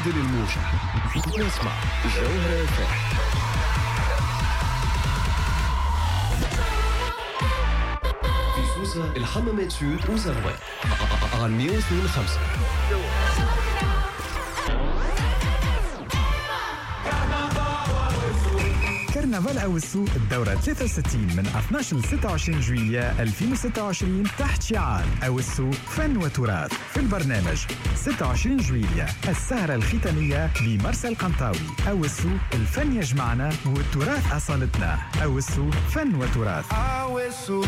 بدل الموجة واسمع جوهرة FM. في سوسة، الحمامات سود وزغوان على 102.5. كرنفال أوسو الدورة 63 من 12 ل 26 جويلية 2026 تحت شعار أوسو فن وتراث. في البرنامج 26 جويلية السهرة الختامية بمرسى القنطاوي. أوسو الفن يجمعنا والتراث أصالتنا. أوسو فن وتراث. أوسو.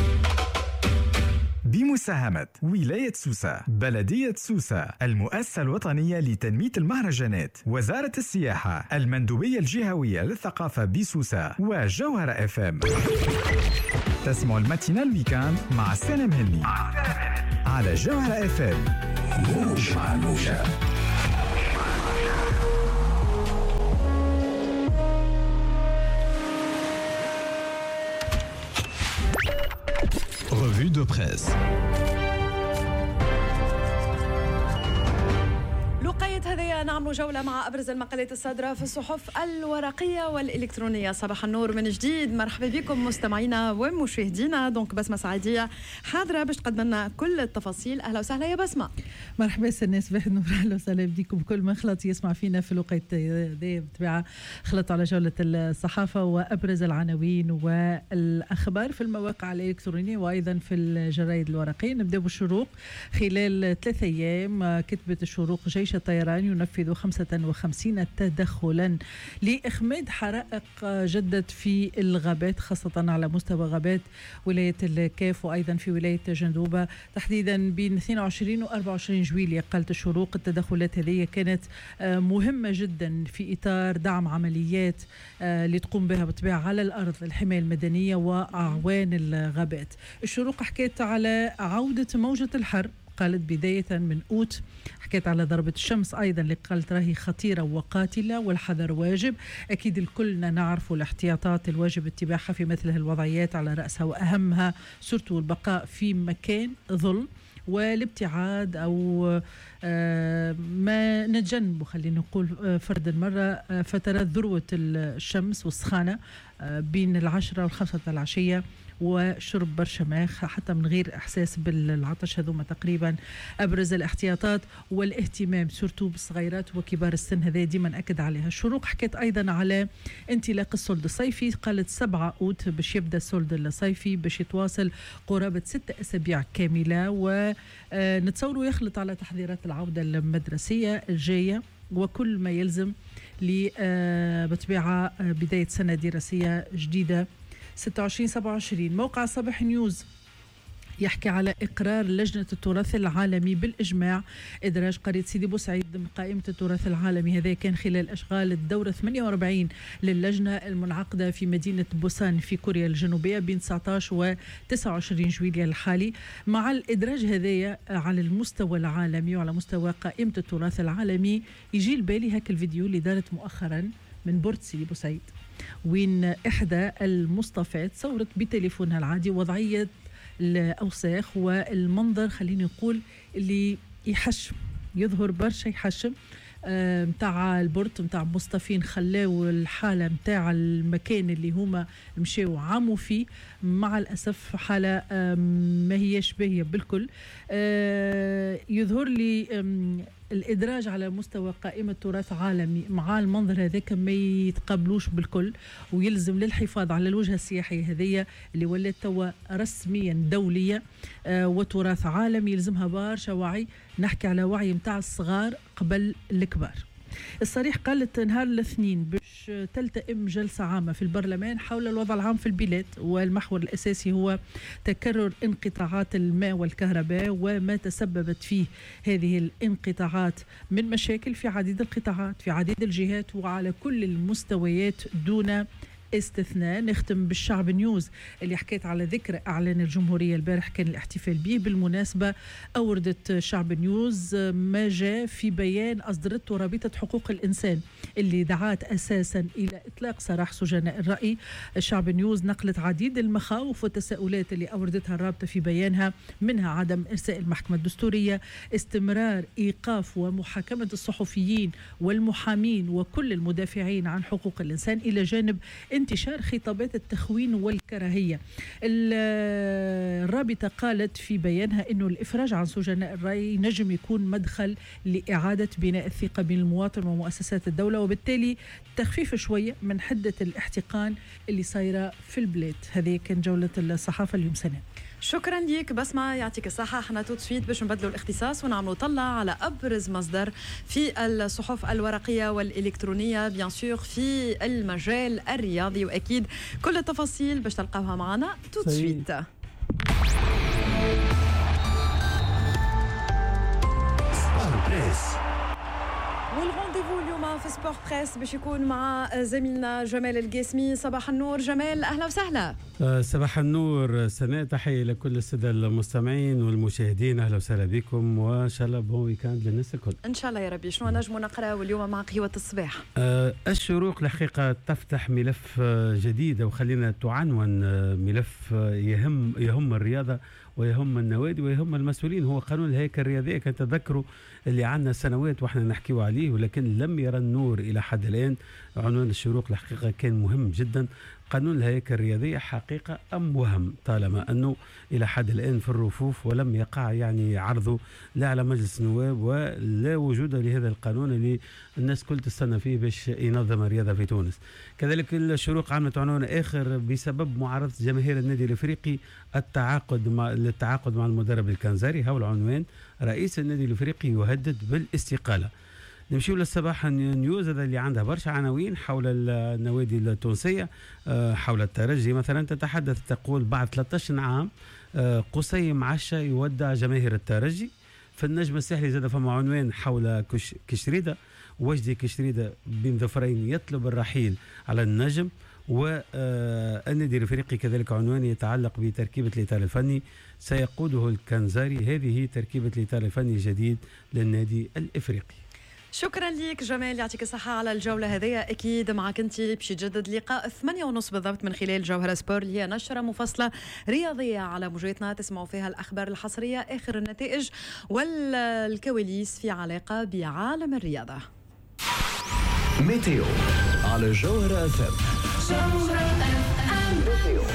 بمساهمة ولاية سوسة، بلدية سوسة، المؤسسة الوطنية لتنمية المهرجانات، وزارة السياحة، المندوبية الجهوية للثقافة بسوسة، وجوهرة FM. تسمعوا ال matinale week-end مع سلام هني على جوهرة FM. موج مع الموجة. Revue de presse. لقيت هذه نعمل جولة مع أبرز المقالات الصادرة في الصحف الورقية والإلكترونية. صباح النور من جديد، مرحبا بكم مستمعينا ومشاهدينا. donc بسمة سعيدية حاضرة باش تقدم لنا كل التفاصيل. أهلا وسهلا يا بسمة. مرحبا الناس، صباح النور، أهلا وسهلا بكم. كل ما خلط يسمع فينا في الوقت هذا بالطبيعة خلط على جولة الصحافة وأبرز العناوين والأخبار في المواقع الإلكترونية وأيضا في الجرايد الورقية. نبدأ بالشروق. خلال 3 أيام كتبت الشروق جيش الطيران ينفذ 55 تدخلا لإخماد حرائق جدت في الغابات، خاصة على مستوى غابات ولاية الكاف وأيضا في ولاية جندوبة، تحديدا بين 22 و 24 جويلية. قالت الشروق التدخلات هذه كانت مهمة جدا في إطار دعم عمليات اللي تقوم بها بالطبيعة على الأرض الحماية المدنية وأعوان الغابات. الشروق حكيت على عودة موجة الحر، قالت بداية من أوت، حكيت على ضربة الشمس أيضا اللي قالت راهي خطيرة وقاتلة والحذر واجب. أكيد الكلنا نعرف الاحتياطات الواجب اتباعها في مثل هالوضعيات، على رأسها وأهمها surtout البقاء في مكان ظل والابتعاد أو ما نتجنبه، خلينا نقول فرد المرة فترات ذروة الشمس والسخانة بين 10 و5 العشية، وشرب برشا ماء حتى من غير احساس بالعطش. هذوما تقريبا ابرز الاحتياطات والاهتمام surtout بالصغيرات وكبار السن، هذا ديما ناكد عليها. الشروق حكيت ايضا على انطلاق ال solde الصيفي، قالت 7 اوت باش يبدا ال solde الصيفي، باش يتواصل قرابة 6 اسابيع كاملة، ونتصوروا يخلط على تحضيرات العودة المدرسية الجاية وكل ما يلزم بطبيعة بداية سنة دراسية جديدة 26-27. موقع صباح نيوز يحكي على إقرار لجنة التراث العالمي بالإجماع إدراج قرية سيدي بوسعيد ضمن قائمة التراث العالمي. هذا كان خلال أشغال الدورة 48 للجنة المنعقدة في مدينة بوسان في كوريا الجنوبية بين 19 و 29 جويلية الحالي. مع الإدراج هذايا على المستوى العالمي وعلى مستوى قائمة التراث العالمي، يجي البالي هاك الفيديو اللي دارت مؤخرا من port سيدي بوسعيد، وين إحدى المصطفات صورت بتليفونها العادي وضعية الأوساخ والمنظر، خليني نقول اللي يحشم، يظهر برشا يحشم متاع ال port متاع مصطفين، خلاو الحالة متاع المكان اللي هما مشاو عاموا فيه مع الأسف حالة ما هيش باهية بالكل. يظهر لي الإدراج على مستوى قائمة تراث عالمي مع المنظر هذاك ما يتقبلوش بالكل، ويلزم للحفاظ على الوجهة السياحية هذية اللي ولات توا رسميا دولية وتراث عالمي، يلزمها برشا وعي. نحكي على وعي متاع الصغار قبل الكبار. الصريح قالت نهار الاثنين باش تلتئم جلسة عامة في البرلمان حول الوضع العام في البلاد، والمحور الأساسي هو تكرر انقطاعات الماء والكهرباء وما تسببت فيه هذه الانقطاعات من مشاكل في عديد القطاعات في عديد الجهات وعلى كل المستويات دون استثناء. نختم بالشعب نيوز اللي حكيت على ذكرى اعلان الجمهورية البارح كان الاحتفال به. بالمناسبة اوردت شعب نيوز ما جاء في بيان اصدرته رابطه حقوق الانسان اللي دعات أساسا إلى إطلاق سراح سجناء الرأي. الشعب نيوز نقلت عديد المخاوف والتساؤلات اللي أوردتها الرابطة في بيانها، منها عدم إرساء المحكمة الدستورية، استمرار إيقاف ومحاكمة الصحفيين والمحامين وكل المدافعين عن حقوق الإنسان، إلى جانب انتشار خطابات التخوين والكراهية. الرابطة قالت في بيانها أنه الإفراج عن سجناء الرأي نجم يكون مدخل لإعادة بناء الثقة بين المواطن ومؤسسات الدولة، وبالتالي تخفيف شوية من حدة الاحتقان اللي صايرة في البلاد. هذه كان جولة الصحافة اليوم سنة. شكرا ليك بسمة، يعطيك الصحة. احنا tout de suite باش نبدلوا الاختصاص ونعملوا طلة على أبرز مصدر في الصحف الورقية والإلكترونية، bien sûr في المجال الرياضي، وأكيد كل التفاصيل باش تلقاوها معنا tout de suite. وال rendez-vous اليوم في Sport Presse باش يكون مع زميلنا جمال القاسمي. صباح النور جمال، اهلا وسهلا. صباح النور سناء، تحية لكل السادة المستمعين والمشاهدين، اهلا وسهلا بكم وان شاء الله bon week-end للناس الكل. ان شاء الله يا ربي. شنو نجموا نقراو اليوم مع قهوة الصباح؟ الشروق الحقيقة تفتح ملف جديد، وخلينا تعنون ملف يهم الرياضة ويهم النوادي ويهم المسؤولين، هو قانون الهيكل الرياضية. كان تذكروا اللي عندنا سنوات واحنا نحكيو عليه ولكن لم يرى النور إلى حد الآن. عنوان الشروق الحقيقة كان مهم جدا، قانون الهيكل الرياضية حقيقة أم وهم، طالما أنه إلى حد الآن في الرفوف ولم يقع يعني عرضه لا على مجلس النواب ولا وجود لهذا القانون اللي الناس كل تستنى فيه باش ينظم الرياضة في تونس. كذلك الشروق عملت عنوان آخر بسبب معارضة جماهير النادي الإفريقي للتعاقد مع المدرب الكنزاري، هو العنوان، رئيس النادي الإفريقي يهدد بالاستقالة. نمشيو للصباح نيوز، هذا اللي عندها برشا عناوين حول النوادي التونسية، حول الترجي مثلا تتحدث تقول بعد 13 عام قصي معشة يودع جماهير الترجي. في النجم الساحلي زاد فما عنوان حول كشريدة، وجدي كشريدة بين ظفرين يطلب الرحيل على النجم. والنادي الافريقي كذلك عنوان يتعلق بتركيبة الإطار الفني سيقوده الكنزاري، هذه تركيبة الإطار الفني الجديد للنادي الافريقي. شكرا لك جمال، يعطيك الصحة على الجولة هذه. أكيد معك أنت باش يتجدد لقاء 8:30 بالضبط من خلال جوهرة سبور، اللي هي نشرة مفصلة رياضية على موجتنا تسمعوا فيها الأخبار الحصرية، آخر النتائج والكواليس في علاقة بعالم الرياضة. météo على جوهرة FM. جوهرة FM météo.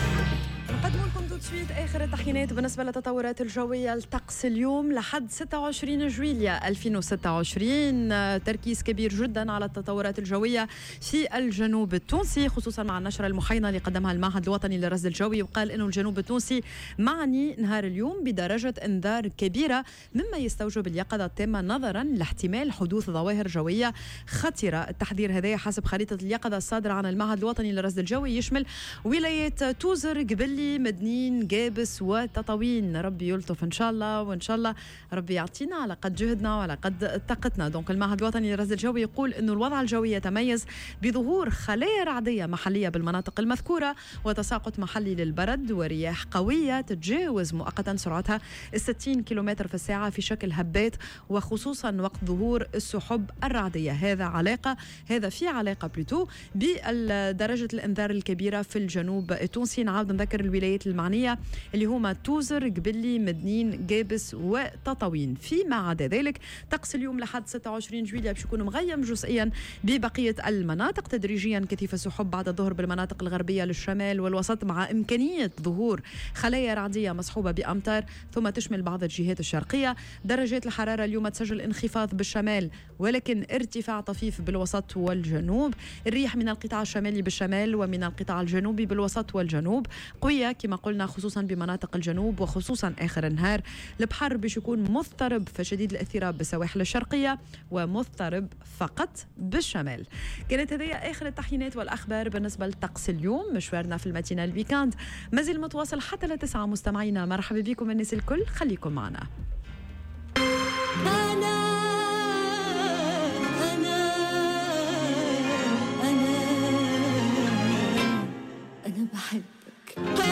نقدم لكم tout de suite آخر التحيينات بالنسبة للتطورات الجوية. الطقس اليوم لحد 26 جويلية 2026، تركيز كبير جدا على التطورات الجوية في الجنوب التونسي، خصوصا مع النشرة المحينة اللي قدمها المعهد الوطني للرصد الجوي، وقال إنه الجنوب التونسي معني نهار اليوم بدرجة إنذار كبيرة، مما يستوجب اليقظة التامة نظرا لاحتمال حدوث ظواهر جوية خطيرة. التحذير هذا حسب خريطة اليقظة الصادرة عن المعهد الوطني للرصد الجوي يشمل ولايات توزر، قبلي، مدنين، قابس وتطاوين. ربي يلطف ان شاء الله، وان شاء الله ربي يعطينا على قد جهدنا وعلى قد طاقتنا. donc المعهد الوطني للرصد الجوي يقول انه الوضع الجوي يتميز بظهور خلايا رعديه محليه بالمناطق المذكورة، وتساقط محلي للبرد، ورياح قوية تتجاوز مؤقتا سرعتها 60 كيلومتر في الساعة في شكل هبات، وخصوصا وقت ظهور السحب الرعديه. هذا في علاقة plutôt بدرجة الانذار الكبيرة في الجنوب التونسي. نعاود نذكر الولايات المعنية اللي هما توزر، قبلي، مدنين، قابس وتطاوين. فيما عدا ذلك طقس اليوم لحد 26 جويلية باش يكون مغيم جزئيا ببقية المناطق، تدريجيا كثيف السحب بعد الظهر بالمناطق الغربية للشمال والوسط، مع إمكانية ظهور خلايا رعدية مصحوبة بأمطار، ثم تشمل بعض الجهات الشرقية. درجات الحرارة اليوم تسجل انخفاض بالشمال ولكن ارتفاع طفيف بالوسط والجنوب. الريح من القطاع الشمالي بالشمال ومن القطاع الجنوبي بالوسط والجنوب قوية كما قلنا، خصوصا بمناطق الجنوب وخصوصا آخر النهار. البحر باش يكون مضطرب فشديد الاضطراب بالسواحل الشرقية ومضطرب فقط بالشمال. كانت هذه آخر التحيينات والأخبار بالنسبة للطقس اليوم. مشوارنا في ال matinale week-end مازال متواصل حتى 9. مستمعينا مرحبا بكم الناس الكل، خليكم معنا. أنا أنا أنا أنا بحبك.